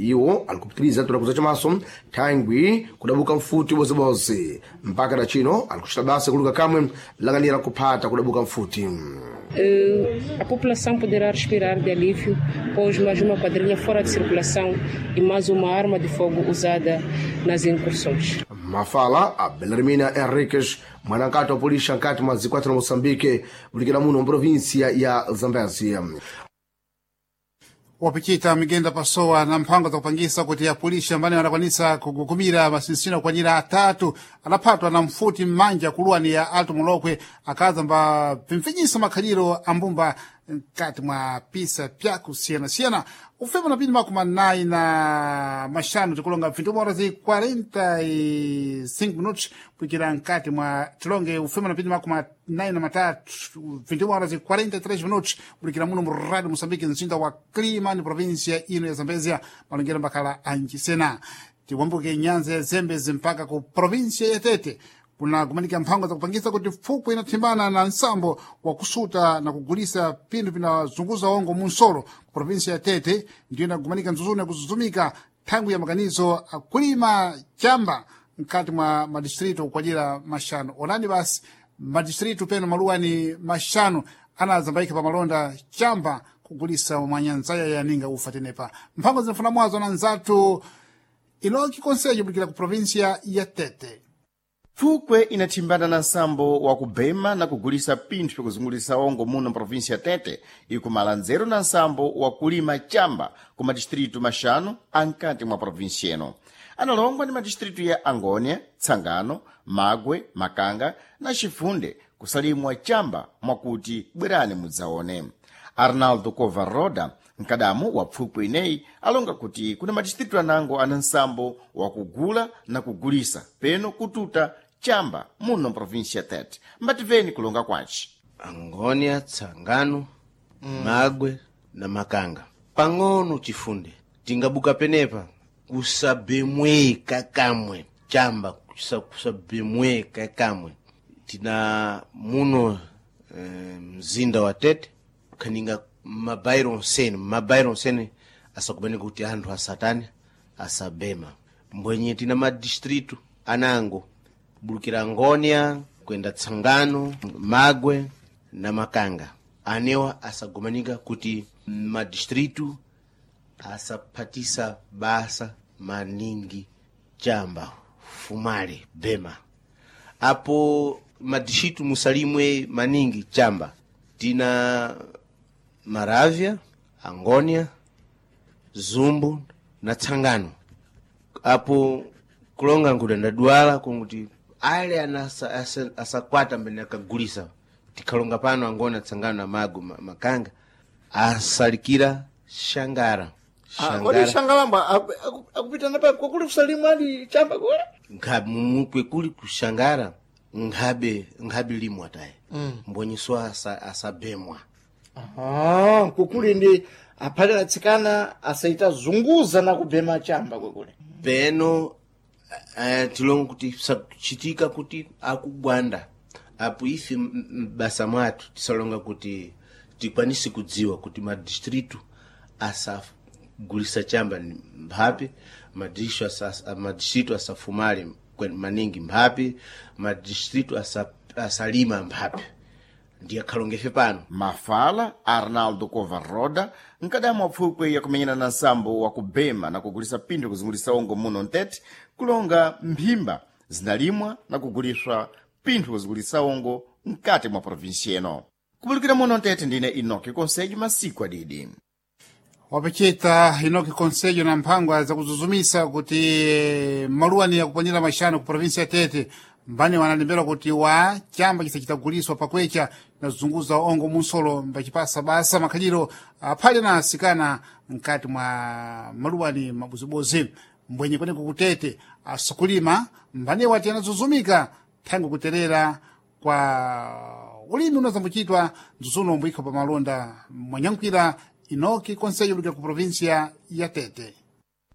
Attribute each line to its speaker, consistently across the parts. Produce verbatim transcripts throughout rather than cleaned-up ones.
Speaker 1: Iwo alikupitiriza tulakuza chamaso thangwi kudabuka mfuti bozibozi mpaka na chino alikuchita basa kuluka kamwe lang'anira kuphata kudabuka mfuti.
Speaker 2: Uh, a população poderá respirar de alívio, pois mais uma quadrilha fora de circulação e mais uma arma de fogo usada nas incursões.
Speaker 1: Mafala a Belarmina Henriques, mwanankati wa polícia nkati mwa zikwati na Moçambique, bulikira muno mprovinsia ya Zambésia.
Speaker 3: Wapichita migenda pasowa na mphango zakupangisa kuti apulisha ambane adakwanisa kugukumira masinsino okwanira atatu adaphatwa na mfuti m'manja kuluwani ya Alto Molokwe akaza mba pimfinyisa makhaliro ambumba mkati mwa pisa pyakusiyanasiyana. Ufema na pindi makumi anayi na maxanu tikulonga vintu horas e quarenta e cinco minutos kuikira mkati mwa tilonge ufema na pindi makumi anayi na matatu, vintu horas e quarenta e três minutos kulikira muno mu Rádio Moçambique, mzinda wa Climane, província ino ya Zambezia. Malongera mbakhala ancisena tiwambuke nyanza ya Zembezi mpaka ku província ya Tete kuna kumanika mphango zakupangisa kuti fukwe inathimbana na nsambo wa kusuta na kugulisa pinthu pinazunguza ongo munsolo ku província ya Tete. Ndiyo inakumanika nzuzuni yakuzuzumika thangwi ya makanizo akulima chamba mkati mwa madistritu kukwajira maxanu. Onani basi madistritu peno maluwani maxanu anazambaika pa malonda chamba kugulisa mwanyanzaya yaninga ufa tenepa. Mphango zinafuna mwazo na nzathu Iloki Konsejo bulikira ku província ya Tete.
Speaker 4: Pfukwe inathimbana na nsambo wa kubema na kugulisa pinthu pyakuzungulisa ongo muno mprovinsia ya Tete ikumala nzeru na nsambo wa kulima chamba ku madistritu maxanu ankati mwa provinsia ino. Analongwa ndi madistritu ya Angônia, Tsangano, Magwe, Makanga na Chifunde kusalimwa chamba mwakuti bwerani mudzaone. Arnaldo Kovaroda, mkadamu wa pfukwe ineyi, alonga kuti kuna madistritu anango ana nsambo wakugula na kugulisa peno kututa chamba muno mprovinsia ya Tete. Mbativeni kulonga kwaci.
Speaker 5: Angônia, Tsangano, mm. Magwe na Makanga pang'ono Chifunde tingabuka penepa kusabemweka kamwe chamba kusa, kusabemweka kamwe tina muno eh, mzinda wa Tete kaninga mabairo onsene mabairo onsene asakubaneka kuti anthu asatani asabema mbwenye tina madistritu anango bulukira Angônia kwenda Tsangano, Magwe na Makanga anewa asagomanika kuti madistritu asaphatisa basa maningi chamba fumale bema apo madistritu musalimwe maningi chamba tina Maravya, Angônia, Zumbu na Tsangano. Apo kulonga nkuda ndadwala kunguti ale anasa, asa, asakwata mbene akagulisa tikhalonga pano Angônia, Tsangano na Mago ma, Makanga asalikira Shangara.
Speaker 6: Ah, kodi Shangalamba akupitana pa kwakuli kusalimu ali chamba kule?
Speaker 5: Nkhabe mumukwe kuli kushangara nkhabe nkhabe limwa tayi mm. mbonyiso asa, asabemwa.
Speaker 6: Aha, kukuli ndi aphale atsikana asaita zunguza na kubema chamba kwekule.
Speaker 5: Peno uh, tilongo kuti sachitika kuti akugwanda apo ife m'basa mwathu tisalonga kuti tikwanise kudziwa kuti madistritu asagulisa chamba ni mphapi madistritu asa, madistritu asafumale kwen- maningi mphapi madistritu asa, asalima mphapi ndiye khalongefe pano.
Speaker 4: Mafala Arnaldo Kovaroda, mkadamu wa pfukwe yakumenyana na nsambo wa kubema na kugulisa pinthu kuzungulisa ongo muno mtete, kulonga mphimba zinalimwa na kuguliswa pinthu kuzungulisa ongo mkati mwa provinsi ino. Kubulikira muno mtete, ndine Inoki Konsejo masiku adidi.
Speaker 3: Wapechita Inoki Konsejo na mphangwa zakuzuzumisa kuti maluwani yakuponyera maxanu ku provinsia ya Tete mbani wanalembera kuti wa chamba chisachitaguliswa pakwecha nazunguza ongo munsolo mbachipasa basa makhaliro aphale na asikana mkati mwa maluwani mabuzibuzi mbwenye kweneko kutete asukulima mbani wati anazuzumika thangwi kuterera kwa ulimi unazambuchitwa nzuzuno mbwikho pa malonda. Mwanyankhwira Inoki Konsejo lukira ku provinsia ya Tete.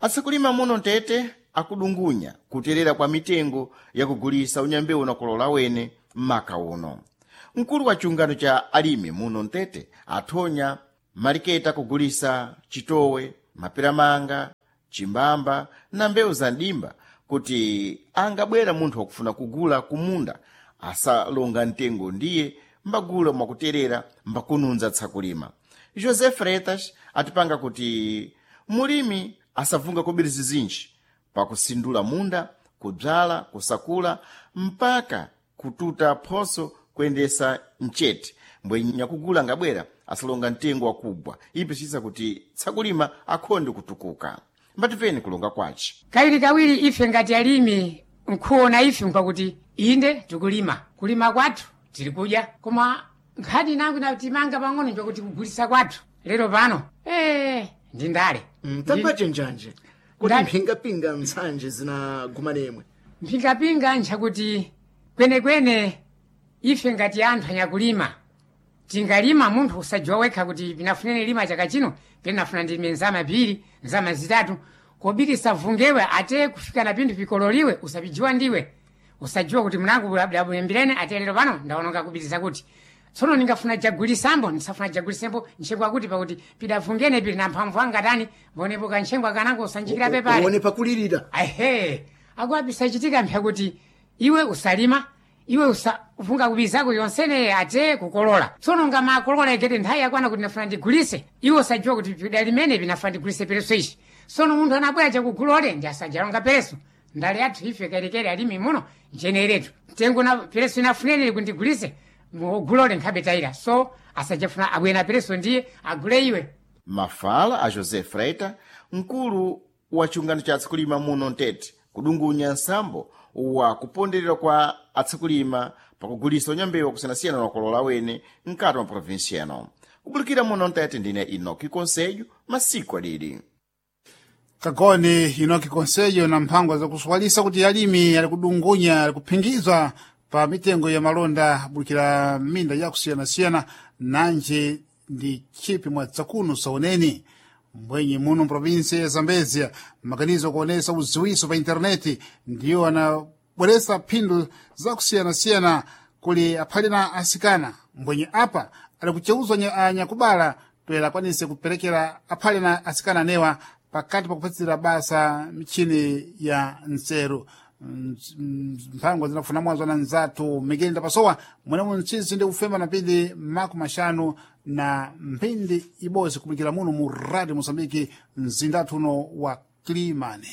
Speaker 4: Asakulima muno mtete akudungunya kuterera kwa mitengo yakugulisa unyambewu na kulola wene m'maka uno. Mkulu wa chiungano cha alimi muno mtete athonya maliketa kugulisa chitowe, maperamanga, chimbamba na mbewu za ndimba kuti angabwera munthu wakufuna kugula kumunda asalonga mtengo ndiye mbagula mwakuterera mbakununza tsakulima. José Freitas atipanga kuti mulimi asavunga kobiri zizinji pakusindula munda, kubzala, kusakula mpaka kututa phoso kuyendesa mchete mbwe nyakugula ngabwera asalonga mtengo wakugwa ipisisa kuti tsakulima akhonde kutukuka. Mbatipeni kulonga kwace.
Speaker 7: Kawiri kawiri ife ngati alimi nkuona ife nkwakuti inde tikulima, kulima kwathu tiri kudya, koma nkhani nangu natimanga pang'ono njakuti kugulisa kwathu lero pano ee ndi ndale.
Speaker 6: Tapache njanje kuti
Speaker 7: Ndale.
Speaker 6: mphingapinga ntsanje zinagumanemwe.
Speaker 7: Mphingapinga nchakuti kwenekwene ife ngati anthu anyakulima tingalima munthu usajiwa wekha kuti pinafunene lima chaka chino pinafuna ndilime nzama pili nzama zitatu kobiri savungewe ate kufika na pinthu pikololiwe usapijiwa ndiwe usajiwa kuti mnangu labulembirene ate lero pano ndaononga kubiriza kuti tsono ningafuna jagulisambo ndisafuna jagulisembo ntchengwa kuti pakuti pidavungene pili na mphamvu anga tani mbonepo kantchengwa kanango usanjikira pepale
Speaker 6: uone pakulirira.
Speaker 7: Ahe, akuapisachitika mpya kuti iwe usalima iwe usafunga kubizako yonsene ate kukolola tsono ngamakolola ikete nthawi yakwana kuti ndafuna ndigulise iwe usajiwa kuti pida limene pinafuna ndigulise pereso ichi tsono munthu anabwera chakugulole ndi asajalonga pereso ndale yathu ife kelekele alimi muno njeneretu mtengo na pereso inafunene kundigulise mugulole nkhabe tayira so asajafuna abwena pereso ndiye agule iwe.
Speaker 4: Mafala a José Freita, mkulu wa chiungano cha atsakulima muno mtete, kudungunya nsambo wa kuponderera kwa atsakulima pakugulisa unyambewu akusiyanasiyana na wakolola wene mkati mwa provinsi eno. Kubulikira muno mtete ndine Inoki Konselho, masiku adidi.
Speaker 3: Kagone Inoki Konselho na mphango zakuswalisa kuti alimi ali kudungunya ali kuphingizwa pa mitengo ya malonda bulikira minda yakusiyanasiyana nanje ndi chipi mwa tsakuno saoneni mbwenye muno mprovinsi ya Zambezia maganizo kuonesa uziwiso pa intaneti ndiyo anabweresa phindu zakusiyanasiyana kuli aphali na asikana mbwenye apa ali kucheuzwa nya- anyakubala toyera akwanise kuperekera aphali na asikana anewa pakati pakupatsira basa michini ya nseru. Mphango zinakufuna mwazo na nzathu Miguel Ndapasowa mwenemo mtsitsi ndi kufema na mphindi makumi maxanu na mphindi ibodzi kubulikira muno mu Radio Mosambiki mzindathu uno wa Kilimani.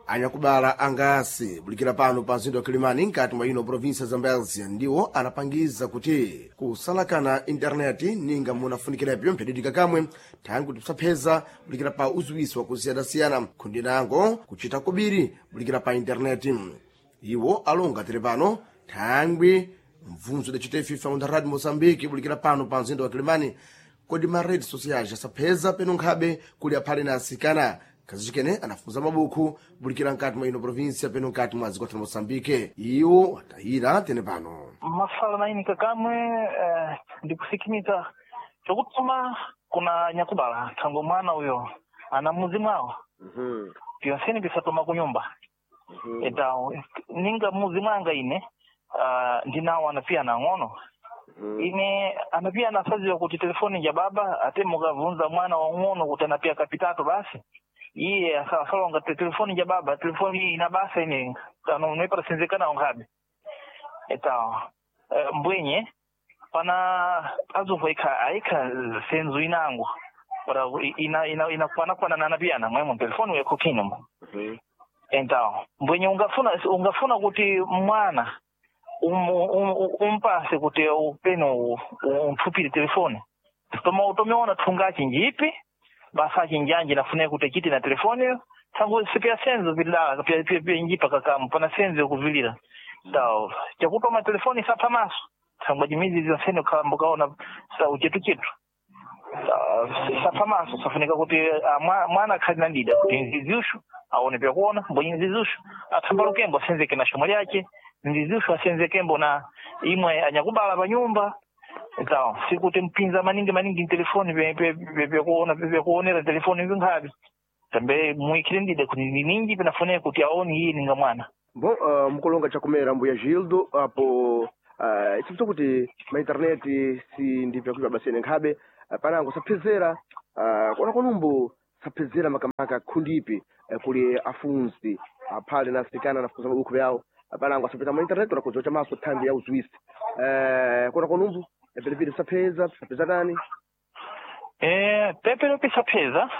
Speaker 1: Anyakubala angasi bulikira pano pa mzinda wa Kilimani nkati mwa ino provinsi ya Zambezia ndiwo anapangiza kuti kusalakana intaneti ninga munafunikirapo mphadidika kamwe thangi tisapheza bulikira pa uziwiso wakusiyanasiyana khundi nango kuchita kobiri bulikira pa intaneti. Iwo alonga tiri pano thangwi mvunzo idacita FIFA mu Radio Mozambique bulikira pano pa mzinda wa Kilimani kodi ma rede sociais asapheza peno nkhabe kuli aphale na asikana kazicikene anafunza mabuku bulikira nkati mwa ino provinsia peno nkati mwa dziko la Moçambique. Iwo atayira tene pano.
Speaker 8: Mafala nainika kamwe eh, ndikusikimiza chokutuma kuna nyakubala thango mwana uyo ana muzi mwawo pyonseni pisatuma kunyumba eta ninga muzi mwanga ine uh, ndinawo anapia nang'ono ine anapia nasaziwa kuti telefoni ja baba ate mukavunza mwana wang'ono kuti anapia kapitatu basi iye asa- asalonga te telefoni ja baba telefoni iyi ina basa ine kano noipatasinzikanawo nkhabe eta eh, mbwenye pana azumva ikha aikha senzu inango para ina ina inakwana na napiyana mwemo telefoni wekho mo então mbwenye ungafuna ungafuna kuti mwana um, um, umpase kuti upeno umthupire telefoni toma utomeona thunga njipi basa chinjanji nafune kuti chiti na telefoni tsangu sipya senzo vilala pya pya pya njipa kakamu pana senzo yokuvilira tao chakutoma telefoni sapha maso tsangwa chimizi zonsene ukhalamba ukaona sa uchetu chetu sapha maso safunika kuti ah, mwa- mwana akhali na ndida kuti nziziushu aone pyakuona mbonye nziziushu atsamba lukembo asenzeke na shomwe lyace nziziushu asenzekembo na imwe anyakubala pa nyumba então sikuti mpinza maningi maningi telefoni pyakuona pyakuonera telefoni vinkhavi tambe muikhile ndida kuti ni ninji pinafuneka kuti aone iye ninga mwana.
Speaker 1: Bom, uh, mukulonga chakumera mbuya Gildo apo uh, isipso kuti ma internet si ndi vyakuipa basene nkhabe uh, panango saphezera uh, kuona kwanumbu Sapezera makamaka khundipi eh, kuli afunzi aphale na asikana anafuza mabuku yawo apanango asapita mu internet unakuzocha maso thambi ya uzuisi eh, kona konumbu vilevile sapeza sapeza nani?
Speaker 8: Eh, pepero pisapheza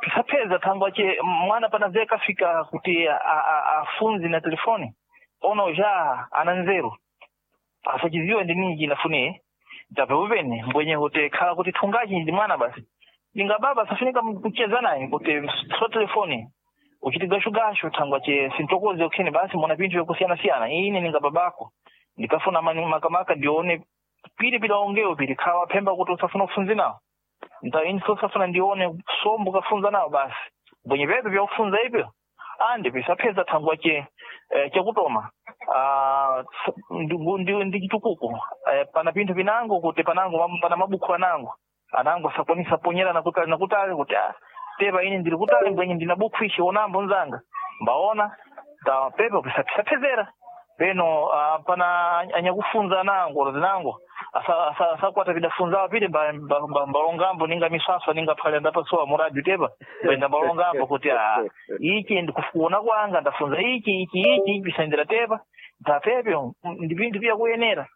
Speaker 8: pisapheza thangwa che mwana panaze kafika kuti a- a- afunzi na telefoni ona uja ana nzeru asachiziwe ndi ninji nafune tapepupene mbwenye kuti khala kuti thungachi ndi mwana basi ninga baba safunika kucheza naye kuti so telefoni uchiti gashugashu thangwa che sintokoze ukhene basi mona pinthu yokusiyana-siyana ine ninga babako ndikafuna mani- makamaka ndione pili pilaongewo pili khala phemba kuti usafuna kufunzi nawo nta ini sosafuna ndione sombo kafunza nawo basi bwenye pepe vyakufunza ipyo andi pisapheza thangwa che eh, chakutoma ah, s- ndi- ndi ndi chitukuko eh, pana pinthu pinango kuti panango mam- pana mabukhu anango anango asakwanisa ponyera nakutali nakutali kuti ah, tepa ine ndili kutali mbwenye ndina bukhu ichi onambo nzanga mbaona ta pepe pisaphezera peno ah, pana anyakufunza anango zinango asakwata pidafunzawo pite mbalongambo ninga miswaswa ninga phale ndapasowa muradio tepa kwenda mbalongambo kuti ah, ichi ndikuona kwanga ndafunza ichi ichi ichi ichi pisandira tepa ndapepyo ndi pinthu pyakuyenera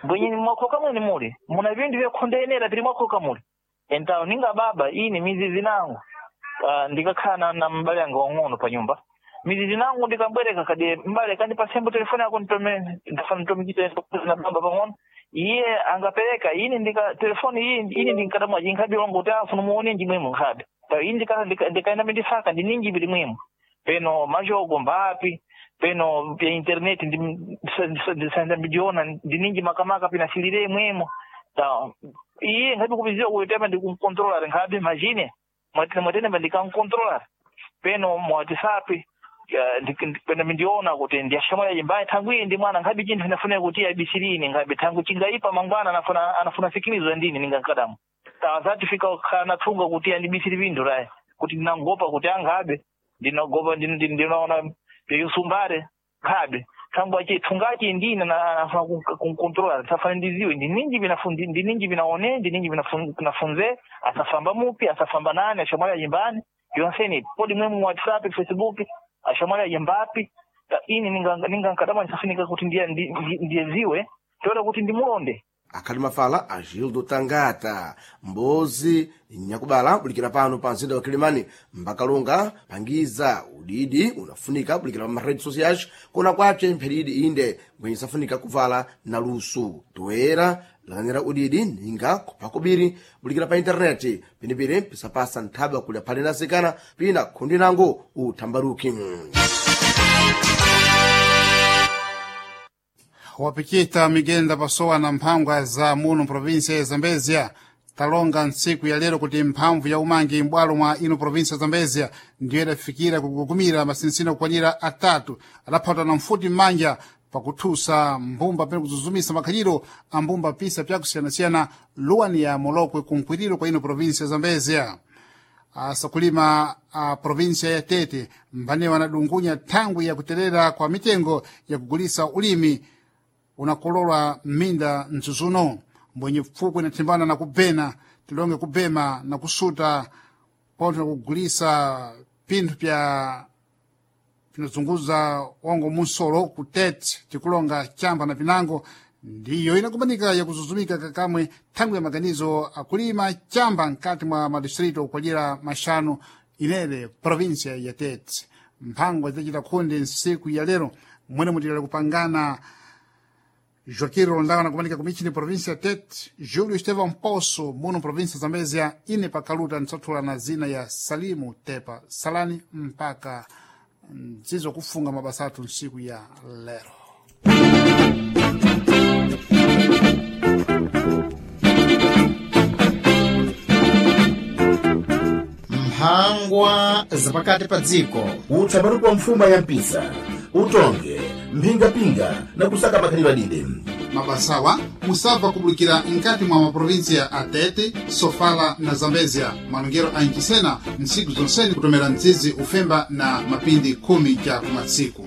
Speaker 8: mbwenye mwakhoka mwene muli muna pinthu vyakhondeyenera pili mwakhoka muli entawo ninga baba ine mizizi nangu ah, ndikakhala na, na mbale anga wang'ono pa nyumba mizizi nangu ndikabwereka kadi mbale kandipasembo telefoni yako nditome ndafana nditomikite na baba pang'ono iye angapereka ine ndika telefoni iyi ine ndinkatamwa jinkhabe longo kuti afuna muone njimwemo nkhabe ta ine ndika ndika- ndikaenda mindisaka ndininji pili mwimo peno majogo mbapi peno pya internet ndisaenda ndiona ndininji makamaka pinasilire mwemo ta iye nkhabe kupiziwa kuti tepa ndikumkontrolar nkhabe machine mwatene mwatene ndikankontrolar peno mwatisapi peno mindiona kuti ndiyashamwali yimbayi thangu iyi ndi mwana nkhabe chinthu inafuneka kuti abisirini nkhabe thangu chingaipa mangwana anafuna anafuna sikilizwa ndini ningankadamu tawazati fika kana thunga kuti andibisiri pinthu rayi kuti ndinangopa kuti anghabe ndinagopa ndin- ndin- ndinaona peyusumbare nkhabe thangu achi thungachi ndine na- anafuna kunkontrola safana ndiziwe ndininji binafundi ndininji binaone ndininji binafun- binafunze asafamba mupi asafamba nani ashamwali ayimbani yonseni podi mwemu WhatsApp Facebook ashamwali ayimbapi Ta ini ninga ninga nkadama nisafunika kuti ndiye ndi- ndi- ndiyeziwe toera kuti ndimulonde
Speaker 1: Akhali mafala Agildo Tangata mbozi nyakubala bulikira pano pa mzinda wa Kilimani mbakalunga pangiza udidi unafunika bulikira pa ma-redes sociais kona kwace mpheridi inde mbwenye safunika kuvala na lusu toera lang'anira udidi ninga kupha kubiri bulikira pa intaneti pinipiri pisapasa nthaba kuli aphale na asikana pina khundi nango uthambaruki.
Speaker 3: Wapikita migenda pasowa na mphangwa za muno provinsia ya Zambezia talonga ntsiku ya lero kuti mphamvu ya umangi m'bwalo mwa ino provinsia ya Zambezia ndiyo idafikira kugugumira masinsino okwanira atatu adaphatwa na mfuti m'manja pakuthusa mbumba pene kuzuzumisa makhaliro a mbumba pisa pyakusiyanasiyana luwani ya Molokwe kunkwiriro kwa ino provinsia ya Zambezia. Asakulima a provinsia ya Tete mbane wanadungunya thangwi ya kuterera kwa mitengo ya kugulisa ulimi unakololwa m'minda mzuzuno mbwenye pfukwe inathimbana na kubena tilonge kubema na kusuta pontho na kugulisa pinthu pya pinazunguza ongo munsolo ku Tete tikulonga chamba na pinango ndiyo inakumanika yakuzuzumika kakamwe thangwi ya maganizo akulima chamba nkati mwa madistrito okwalira maxanu inere provinsia ya Tete. Mphangwa zidachita khundi nsiku ya lero mwene mutilera kupangana Joaquim Rondão anakumanika kumichini província ya Tete, Júlio Estevão Poço, muno província Zambésia, ine pakaluta nitsathula na zina ya Salimu Tepa Salani mpaka nzizo kufunga mabasa athu nsiku ya lero.
Speaker 4: Mphangwa zapakati pa dziko.
Speaker 9: Utsabaruka wa mfuma ya mpisa utonge mphingapinga na kusaka makhalidwe adide.
Speaker 3: Mabasawa musabva kubulikira nkati mwa maprovinsia a Tete, Sofala na Zambezia malongero a Ncisena ntsiku zonseni kutomera mzizi ufemba na mapindi khumi cha kumatsiku.